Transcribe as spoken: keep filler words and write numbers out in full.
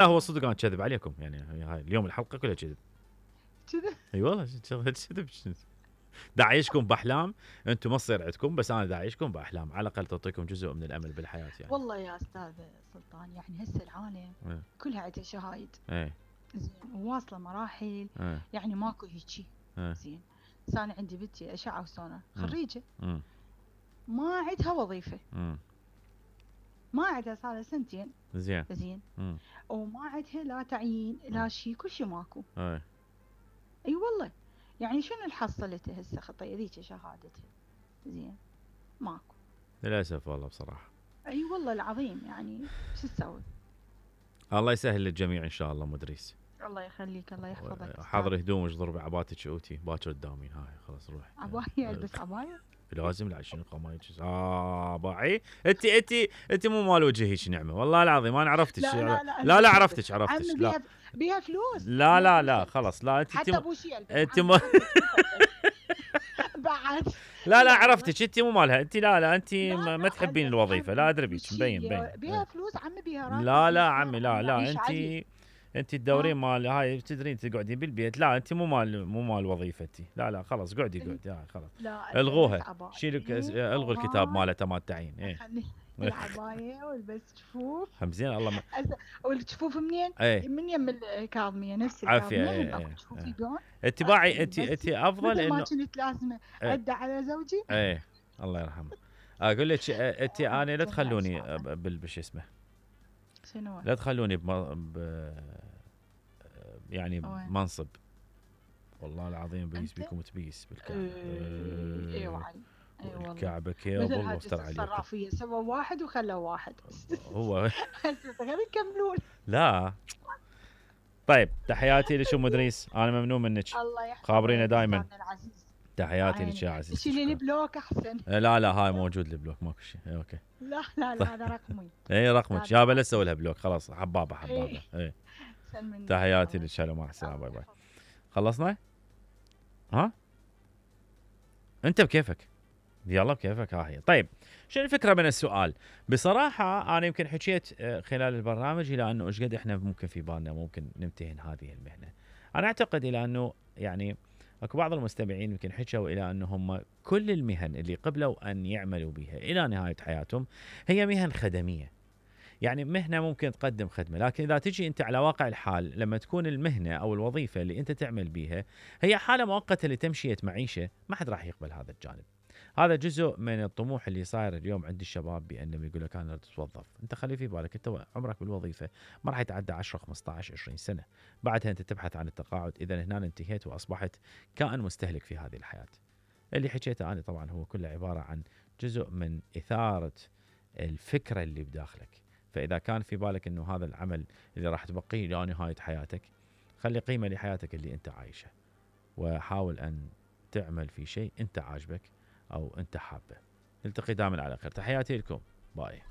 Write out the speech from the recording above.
لا هو صدق انا كذب عليكم يعني هاي اليوم الحلقه كلها كذب. كذا اي والله شغله كذب. دا اعيشكم باحلام، انتم ما تصير عندكم، بس انا دا اعيشكم باحلام، على الاقل تعطيكم جزء من الامل بالحياه يعني. والله يا استاذ سلطان يعني هسه العالم ايه كلها عندها شهايد ايه زين وواصله مراحل ايه يعني ماكو هيجي ايه زين. بس انا عندي بنتي اشعه وسونار خريجه امم ما عندها وظيفه، امم ما عندها صار لها سنتين زين زين امم وما عندها لا تعيين لا شيء، كل شيء ماكو. ايه اي والله يعني شنو اللي حصلته هسه خطيه ذيك شهادتها زين ماكو. للاسف والله بصراحه. اي والله العظيم يعني شو تسوي. الله يسهل للجميع ان شاء الله مدريس. الله يخليك الله يحفظك. حاضر هدومك ضرب عباتك اوتي باكر تداومين هاي خلاص روح. عباية البس عباية لازم لا شنو قمايج اه باعي انت انت انت مو مال وجه هيك نعمه والله العظيم انا عرفتك. لا لا لا, لا, لا عرفتك عرفتك عمي لا بيها بيها فلوس. لا بيها لا لا فلوس خلاص لا انت حتى ابو شي انت م... بعد لا لا عرفتك انت مو مالها انت. لا لا انت لا ما, لا ما تحبين الوظيفه لا ادري بيك وشي مبين مبين. بيها فلوس عمي بيها راتب. لا لا بيها عمي لا لا عيش انت عالي. انت تدورين مال هاي تدرين تقعدين بالبيت. لا انت مو مال مو مال وظيفتي. لا لا خلاص قعدي قعدي هاي خلاص لا الغوها البس شيلوا عباية الغوا الكتاب مالته مال التعيين. ايه خلي العباية والبس جفوف هم زين الله ما... والجفوف منين؟ ايه من يم الكاظمية نفس عافيه. الكاظمية ايه من ايه جفوف يبيعون. انت باعي انت انت افضل مثل ما انه كنت لازمة ايه أدى على زوجي. ايه الله يرحمه. اقول لك انت انا لا تخلوني بالش اسمه شنو لا تخلوني ب... ب... يعني منصب والله العظيم بيس بيكم تبيس بالكعبه. اي وعلي اي والله الكعبه كيبل وافتر عليكم. الصرافيه سووا واحد وخلوا واحد. هو غير يكملون. لا طيب تحياتي لشو مدريس انا ممنون منك. الله يحفظك خابرينا دائما. تحياتي لك يا عزيزي. شيلي لي بلوك احسن. لا لا هاي موجود البلوك ماكو شيء. اوكي لا لا لا هذا رقمي. اي رقمك يابا لا تسوي لها بلوك خلاص حبابه حبابه. اي تحياتي لك سلام مع السلامه باي باي. خلصنا؟ ها؟ انت بكيفك يلا بكيفك. ها هي طيب شنو الفكره من السؤال؟ بصراحه انا يمكن حكيت خلال البرنامج الى انه ايش قد احنا ممكن في بالنا ممكن نمتهن هذه المهنه. انا اعتقد الى انه يعني اكو بعض المستمعين يمكن حكوا الى انه هم كل المهن اللي قبلوا ان يعملوا بها الى نهايه حياتهم هي مهن خدميه. يعني مهنه ممكن تقدم خدمه، لكن اذا تجي انت على واقع الحال لما تكون المهنه او الوظيفه اللي انت تعمل بيها هي حاله مؤقته لتمشيه معيشه، ما حد راح يقبل هذا الجانب. هذا جزء من الطموح اللي صاير اليوم عند الشباب بانهم يقول لك انا اتوظف. انت خلي في بالك انت عمرك بالوظيفه ما راح يتعدى عشرة خمسطعش عشرين سنه، بعدها انت تبحث عن التقاعد. اذا هنا انتهيت واصبحت كائن مستهلك في هذه الحياه. اللي حكيته انا طبعا هو كله عباره عن جزء من اثاره الفكره اللي بداخلك. فإذا كان في بالك أنه هذا العمل اللي راح تبقيه إلى نهاية حياتك، خلي قيمة لحياتك اللي أنت عايشها، وحاول أن تعمل في شيء أنت عاجبك أو أنت حابه. نلتقي دائما على خير. تحياتي لكم. باي.